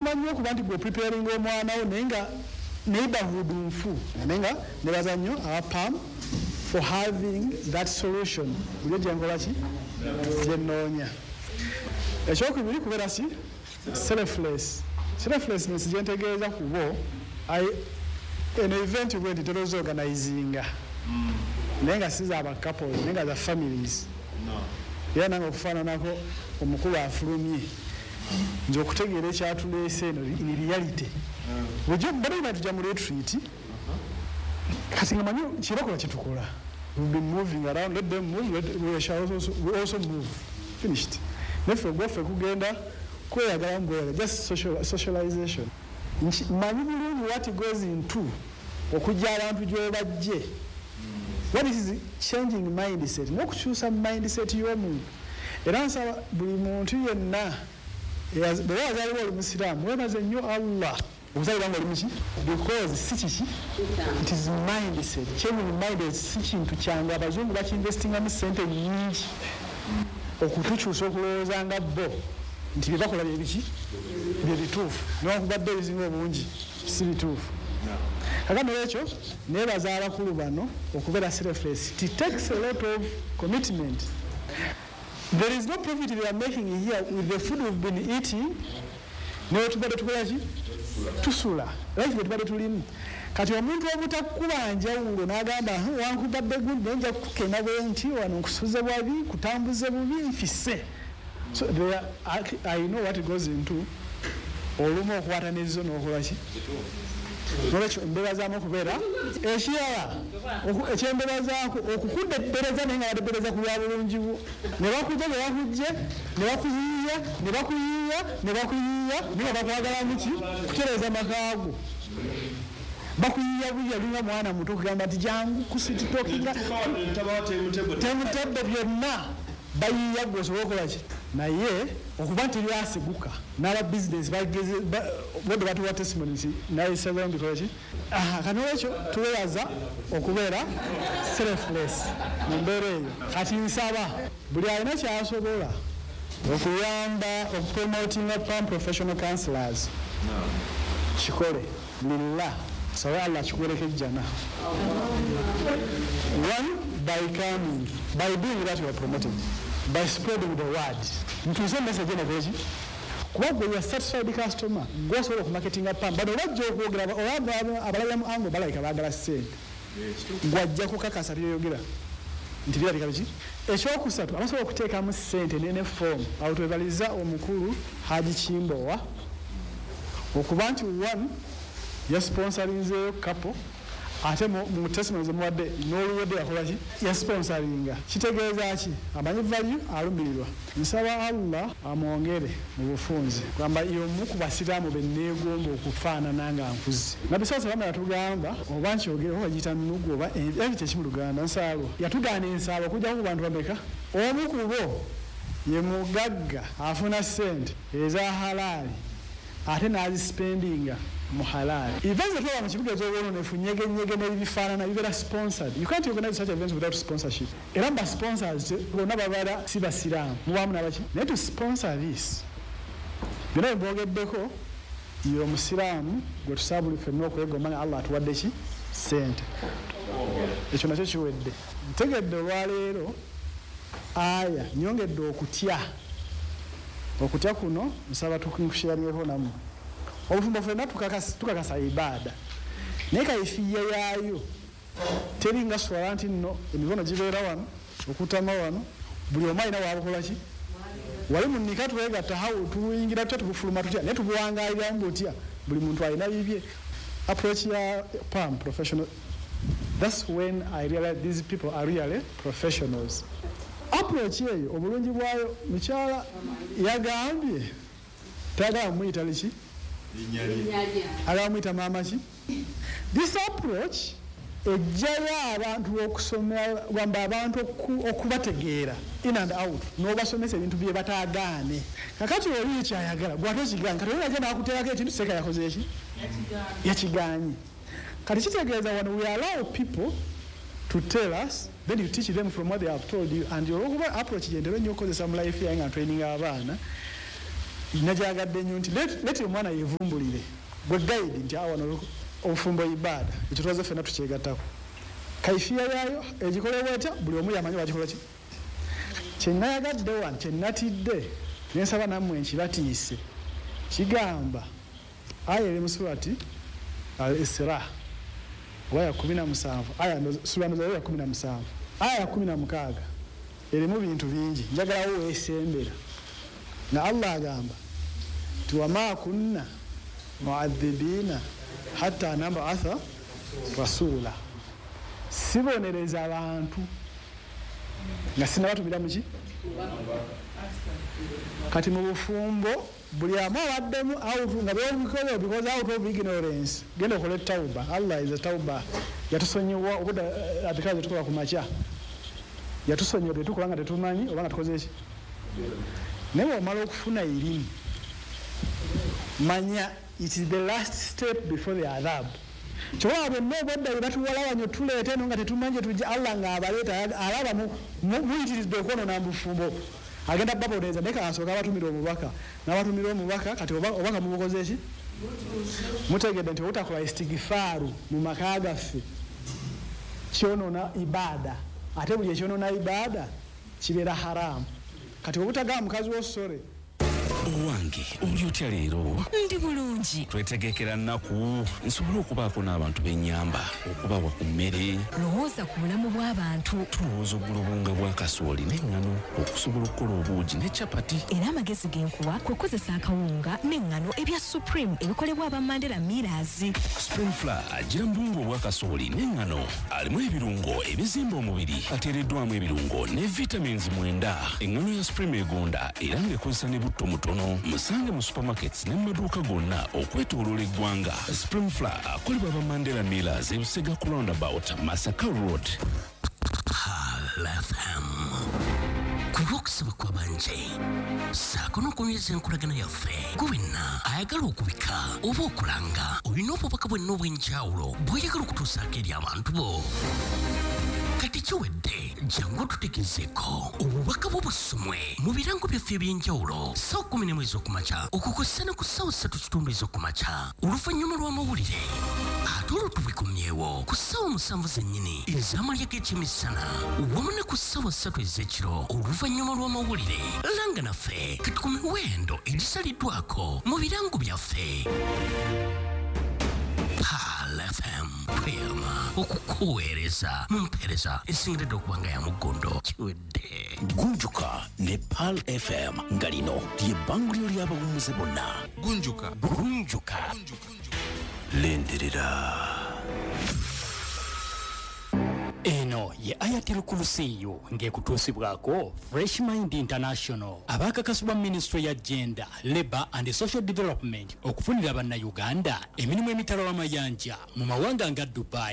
Ofuba nnyo okuba nti gwe preparing omwana wo, naye nga neighborhood nfu. Naye nga nebaza nnyo aba PAM for having that solution. Buli gyenkola ki gyenoonya. Ekyokubiri kubeera si selfless. Selflessness gyentegeeza kubo, eno event bwe nti teroza organizinga, naye nga si za couples, naye nga za families. Era nange okufaananako omukulu afulumye, nze okutegeera ekyatuleese eno in reality, bulijjo badde tujja mu retreat. Kati nga manyi kyebakola kyetukola. We've been moving around, let them move, we also move. Finished. Neffe ogwaffe kugenda kweyagala mbweyagala, just socialization. Manyi bulungi what goes into okujja abantu gy'obajje, what is changing mindset n'okukyusa mindset y'omuntu. Era nsaba buli muntu yenna bwe wazaalibwa oli musiraamu, weebaze nnyo Allah okuzaalibwa nga oli muki, because si kiki, it is mindset. Changing mindset si kintu kyangu. Abazungu bakiinvestingamu sente nyingi okutukyusa okulowooza nga bo nti bye bakola bye biki, bye bituufu, newankubadde ebisinga obungi si bituufu. Kakano ekyo nebaza abakulu bano okubeera selfless. It takes a lot of commitment. There is no profit they are making here with the food we've been eating. Naye tubadde tukola ki, tusula life bwe tubadde tulimu. Kati omuntu obutakuba njawulo n'agamba, "Wankubadde gundi, naye nja kukukema bwe nti wano, nkusuze bwabi, nkutambuze bubi, nfise." So there, I know what goes into olumu okukwata nezo n'okola ki. Nolwekyo embeera okubeera ekirala ekyembeera zaako okukudebbereza, naye nga badebbereza ku lwa bulungi bwo. Ne bakujja ne bakujje ne bakuyiiya ne bakuyiiya ne bakuyiiya, naye nga bakwagalamu ki? Kutereeza makaago. Bakuyiiya buya linga mwana muto, okugamba nti jangu kusweet talkinga, temutebbe, byonna bayiiya gwe osobola okukola ki. Naye okuba nti lyasiguka n'aba bizinesi bodde batuwa testimony nti nayesazayo mbikola ki. Kati nolwekyo tuwebaza okubeera selfless mu mbeera eyo. Kati nsaba buli alina kyasobola okuyamba okupromotinga PAM professional counselors kikole lillah, sabe Allah kikuwereko ejjana. One, by coming, by doing that you are promoting, by spreading the word, ntuuse message eno kweki, kuba gwe ya satisfied customer, gwosobola okumarketinga PAM. Bano bajja okwogera oba abalabira mu ango, balabika baagala ssente, gwajja kukakasa byoyogera nti birabika biki. Ekyokusatu, abasobola okuteekamu ssente nene form awo, twebaliza omukulu Haji Kimbowa okuba nti one, yasponsorinzeeyo couple, ate mu testimony zemuwadde n'oluwedde yakola ki, yasponsoringa. Kitegeeza ki? Amanyi value, alumirirwa. Nsaba Allah amwongere mu bufunze, gamba y'omu ku basiraamu benneegomba okufaanana nga nkuze. Nabbi saa salama yatugamba, oba nkyogere oba bagiyita nnugu oba envi, kyeki mu Luganda, nsaalwa. Yatugaana ensaalwa okujjako ku bantu bameka? Omu ku bo ye mugagga afuna ssente eza halaali ate n'azispendinga mu halaali. Events zetulaba mu kibuga ez'obwononefu, nyegenyege n'ebifaanana, bibeera sponsored. You can't organize such events without sponsorship. Era mu basponsors bonna babala si basiraamu, mubaamu nabaki, naye to sponsor this byonna bye mbogeddeko, ye omusiraamu gwe tusaba buli ffenna okwegomba nga Allah atuwadde ki, ssente. Ekyo nakyo kiwedde. Ntegedde olwaleero aya nyongedde okutya. Okutya kuno nsaba tukusharingeko nammwe. Obufumbo ffenna tukakasa ibaada, naye kaifiya yaayo teri nga swala nti nno emikono gibeera wano, okutama wano, buli omu alina wabukola ki. Wali mu nika twegatta, hawo tuyingira tutya, tubufuluma tutya, naye tubuwangaaliramu butya? Buli muntu alina bibye. Approach ya PAM professional, that's when I realize these people are really professionals. Approach eyo obulungi bwayo, mukyala yagambye tayagala muyita liki, agala muyita maama ki. This approach ejjayo abantu okusomera, gamba abantu okubategeera in and out, n'obasomesa ebintu bye bataagaane. Kakati oli ekyayagala gwate okiganye, kati oli ajja nakuteerako ekintu seeka yakoze eki, yakiganye. Kati kitegeeza wano we allow people to tell us, then you teach them from what they have told you. And olwokuba approach gyentera ennyo okukozesa mu life yange nga training abaana, Najagadde nnyo nti let omwana yevumbulire, gwe guide nti awano obufumbo ibaada, ekyo twaze ffenna tukyegattako. Kaifiya yaayo egikolebwa etya, buli omu yamanyi bagikola ki. Kyenayagadde wano, kyenatidde nensaba nammwe nkibatiise, kigamba aya eri mu surati Al-Isra oba ya 17, aya sura ya 17 aya ya 16, erimu bintu bingi, njagalawo weesembera. Nga Allah agamba nti wama kunna muadhibina hatta nabatha rasula, sibonereza abantu nga sinabatumira muki. Kati mu bufumbo buli amu abaddemu out nga byobikoze because out of ignorance, genda okole tauba. Allah is a tauba, yatusonyiwa obudde adhikazi tukola ku makya, yatusonyiwa bye tukola nga tetumanyi oba nga tukoze ki. Naye bw'omala okufuna erimu, manya it is the last step before the adhab. Kyolaba byonna obwedda bye batuwalawanya tuleeta eno nga tetumanyi gye tujja, Allah ng'abaleeta alaba muyitiridde okwonoona mu bufumbo, agenda babonereza. Naye kasooka abatumira omubaka, n'abatumira omubaka. Kati obubaka mubukoze ki? Mutegedde nti obutakola istigifaaru mu maka gaffe kyonoona ibaada, ate buli ekyonoona ibaada kibeera haramu. Kati obutagamba mukazi wo sore. Owange oli otya leero? Ndi bulungi. Twetegekera nnaku nsobole okubaako n'abantu b'ennyamba, okubawa ku mmere. Lowooza ku bulamu bw'abantu. Tulowooza ogula obuwunga bwa kasooli n'eŋŋano okusobola okukola obuugi ne capati. Era amagezi ge nkuwa kwe kukozesa akawunga n'eŋŋano ebya Supreme ebikolebwa aba Mandela Millers. Supreme Flour agira mu buwunga obwa kasooli n'eŋŋano, alimu ebirungo ebizimba omubiri, ateereddwamu ebirungo ne vitamins 9. Eŋŋano ya Supreme egonda era ng'ekozesa ne butto mutono. Musange mu supermarkets ne mu maduuka gonna okwetooloola eggwanga. Supreme Flour akolebwa aba Mandela Millers, Ebusega ku roundabout Masaka Road. Pearl FM, ku lw'okusaba kw'abangi ssaako n'okunyweza enkolagana yaffe, gwe wenna ayagala okubika oba okulanga, olina obubaka bwenna obw'enjawulo bw'oyagala okutuusaako eri abantu bo, kati kiwedde, jangu otutegezeeko obubaka bwo busomwe mu birango byaffe eby'enjawulo ssaawa 11 ez'okumakya okukosa ne ku ssaawa 3:15 ez'okumakya oluvannyuma lw'amawulire, ate olwo tubikomyewo ku ssaawa 7 zennyini ez'amalya g'ekyemisana wamu ne ku ssaawa 3 ez'ekiro oluvannyuma lw'amawulire. Langa naffe kati ku miwendo egisaliddwako mu birango byaffe. Pearl FM, tweyama okukuweereza mu mpeereza esingiridde okuba nga ya muggondo. Kiwedde. Gunjuka ne Pearl FM, nga lino ly'ebbanguliro ly'abawummuze bonna. Gunjuka. Gunjuka. Lindirira. Eno ye Ayatul Kursiyu ng'ekutuusibwako Fresh Mind International, abaakakasibwa Ministry ya Gender, Labour and Social Development okufunira Bannayuganda emirimu emitala w'amayanja mu mawanga nga Dubai.